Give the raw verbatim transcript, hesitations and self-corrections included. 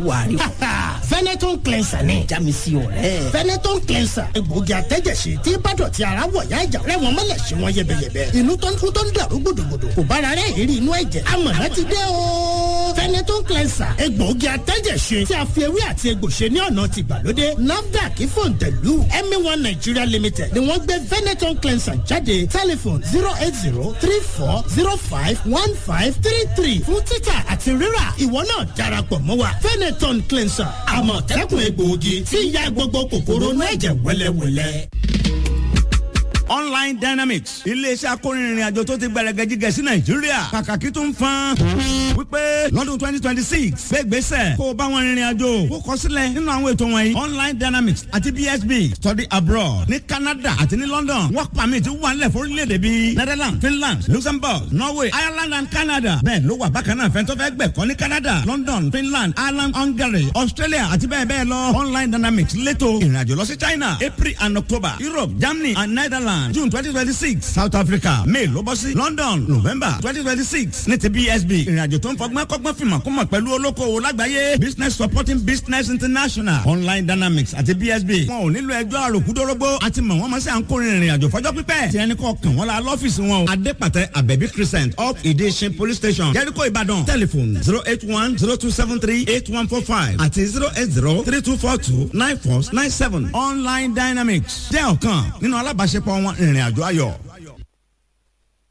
Wà á rí. Fenetone cleanser ni. Já mi sí ọ̀rẹ́. Fenetone cleanser, egbòogi àtẹ́jẹsí tí bàdọ̀tí ara wọ̀ yá ìjà rẹ̀ wọ́n mọ́lẹ̀ sí wọn yẹbẹyẹbẹ. Inú tó ń kú tó ń dàrú gbòdògbòdò kò bára rẹ̀ èrí inú ẹ̀jẹ̀. Amọ̀nà ti dé o. Fenetone cleanser, egbòogi àtẹ́jẹsí tí a fi ewé àti egbò ṣe ní ọ̀nà ti gbàlódé. NAFDAC fòǹtẹ̀lù Emi One Nigeria Limited ni wọ́n gbé Fenetone cleanser jáde. Telephone zero eight zero three four zero five one five three three fún títà àti rírà. Ìwọ náà darapọ̀ mọ́ wa. Fenetone cleanser, àmọ̀tẹ́kùn egbòogi tí ń ya gbogbo kòkòrò inú ẹ̀jẹ̀ wẹ́lẹ́wẹ́lẹ́. Online Dynamics, iléeṣẹ́ akórinrin àjò tó ti gbẹrẹgẹjigẹ sí Nàìjíríà, kàkàkí tó ń fan wípé lọ́dún twenty twenty six gbégbèsè kó o bá wọn rìnrìn àjò kó kọ sílẹ̀ nínú àwọn ètò wọ̀nyí. Online Dynamics àti B S B study abroad ní Canada àti ní London, work permit wà nílẹ̀ fórílẹ̀-èdè bíi Netherlands, Finland, Luxembourg, Norway, Ireland and Canada. Bẹ́ẹ̀ ló wà bákan náà fẹ́ntọ́ fẹ́ gbẹ̀kọ́ ní Canada, London, Finland, Ireland, Hungary, Australia àti bẹ́ẹ̀ bẹ́ẹ̀ lọ. Online Dynamics létò ìrìnàjò lọ sí China, April and October, Europe, Germany and Netherlands, June twenty twenty six, South Africa, May ló bọ́ sí London, November twenty twenty six ní ti B S B, ìrìnàjò tó ń fọgbọ́n kọ́gbọ́n fìmọ̀ kó mọ̀ pẹ̀lú olókoòwò lágbàáyé, Business Supporting Business International. Online Dynamics àti B S B, wọn ò nílò ẹjọ́ àròkúdórógbó àti mọ̀ wọ́n mọ̀ sí à ń kórè ìrìnàjò fọjọ́ pípẹ́. Tí ẹni kọ́ kàn wọ́n la lọ́fíìsì wọn o, Adépàtẹ, Abẹ́bí Crescent up, Ìdíṣin Police Station, Jericho, Ìbàdàn. Telephone zero eight one zero two seven three eight one four five àti zero eight zero three two four two nine four nine seven. Online Dynamics jẹ́ ọ̀kan nínú alábàáṣepọ̀ wọn, ìrìnàjò ayọ̀.